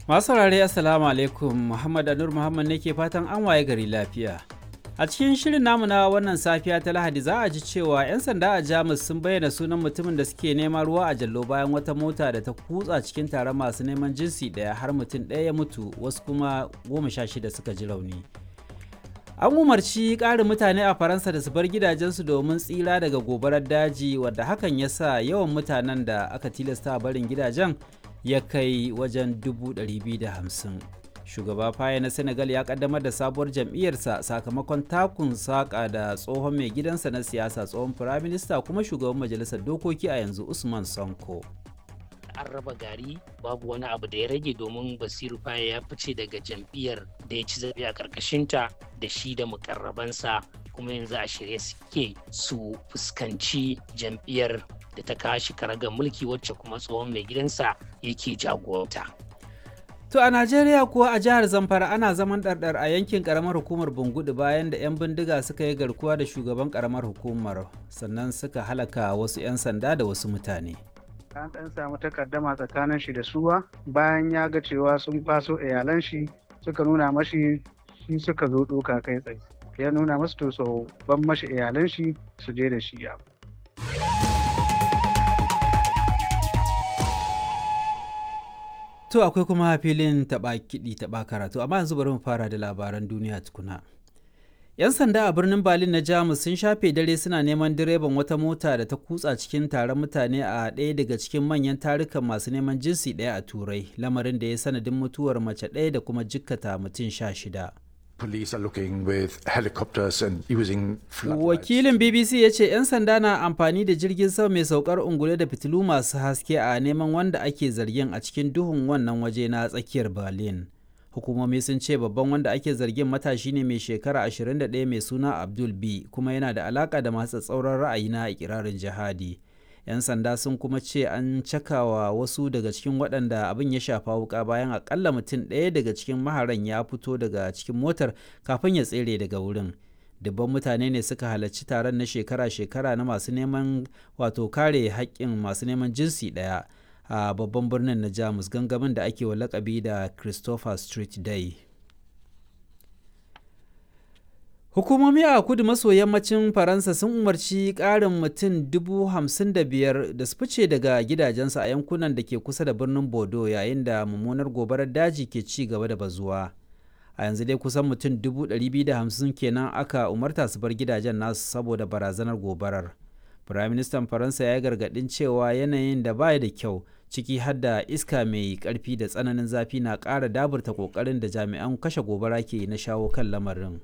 Masu saurare, Assalamu alaikum. Muhammad Anur Muhammad ne ke fatan an waye gari lafiya. A cikin shirin namu na wannan safiya ta Lahadi, za a ji cewa 'yan sanda a Jamus sun bayyana sunan mutumin da suke nema ruwa a jallo bayan wata mota da ta kutsa cikin taron masu neman jinsi ɗaya har mutum ɗaya ya mutu, wasu kuma 16 suka ji rauni. An umarci ƙarin mutane a Faransa da su bar gidajensu domin tsira daga gobarar daji, wadda hakan ya sa yawan mutanen da aka tilasta barin gidajen ya kai wajen 250,000. Shugaba Faye na Senegal ya kaddamar da sabuwar jam'iyyarsa sakamakon takun saƙa da tsohon mai gidansa na siyasa, tsohon firaminista kuma shugaban majalisar dokoki a yanzu, Usman Sonko. An raba gari, babu wani abu da ya rage, domin Basiru Faye ya fice daga jam'iyyar da ya ci zaɓe a ƙarƙashinta da shi da mukarrabansa, kuma yanzu a shirye suke su fuskanci jam'iyyar da ta kashi karagar mulki, wacce kuma tsohon mai gidansa yake jagoranta. To a Najeriya kuwa, a jihar Zamfara ana zaman ɗarɗar a yankin ƙaramar hukumar Bungudu bayan da 'yan bindiga suka yi garkuwa da shugaban ƙaramar hukumar, sannan suka halaka wasu 'yan sanda da wasu mutane. An ɗan samu takaddama tsakanin shi da suwa bayan ya ga cewa sun kwaso iyalan shi, suka nuna mashi shi suka zo ɗoka kai tsaye. Ya nuna masu to so ban mashi iyalan shi su je da shi ya. To akwai kuma filin taɓa kiɗi taɓa karatu, amma yanzu bari mu fara da labaran duniya tukuna. 'Yan sanda a birnin Berlin na Jamus sun shafe dare suna neman direban wata mota da ta kutsa cikin taron mutane a ɗaya daga cikin manyan tarukan masu neman jinsi ɗaya a Turai, lamarin da ya sanadin mutuwar mace ɗaya da kuma jikkata mutum 16. Police are looking with helicopters and using floodlights. Wakilin BBC ya ce 'yan sanda na amfani da jirgin sama mai saukar ungulu da fitilu masu haske a neman wanda ake zargin a cikin duhun wannan waje na tsakiyar Berlin. Hukumomi sun ce babban wanda ake zargin matashi ne mai shekara 21 mai suna Abdul B, kuma yana da alaka da masu tsauran ra'ayi na ikirarin jihadi. 'Yan sanda sun kuma ce an cakawa wasu daga cikin waɗanda abin ya shafa wuka bayan akalla mutum ɗaya daga cikin maharan ya fito daga cikin motar kafin ya tsere daga wurin. Dubban mutane ne suka halarci taron na shekara-shekara na masu neman, wato kare haƙƙin masu neman jinsi ɗaya a babban birnin na Jamus, gangamin da ake wa lakabi da Christopher Street Day. Hukumomi a kudu maso yammacin Faransa sun umarci ƙarin mutum 55,000 da su fice daga gidajensu a yankunan da ke kusa da birnin Bordeaux yayin da mummunar gobarar daji ke ci gaba da bazuwa. A yanzu dai kusan mutum 250,000 kenan aka umarta su bar gidajen nasu saboda barazanar gobarar. Firaministan Faransa ya yi gargaɗin cewa yanayin da baya da kyau, ciki har da iska mai ƙarfi da tsananin zafi, na ƙara daburta ƙoƙarin da jami'an kashe gobara ke na shawo kan lamarin.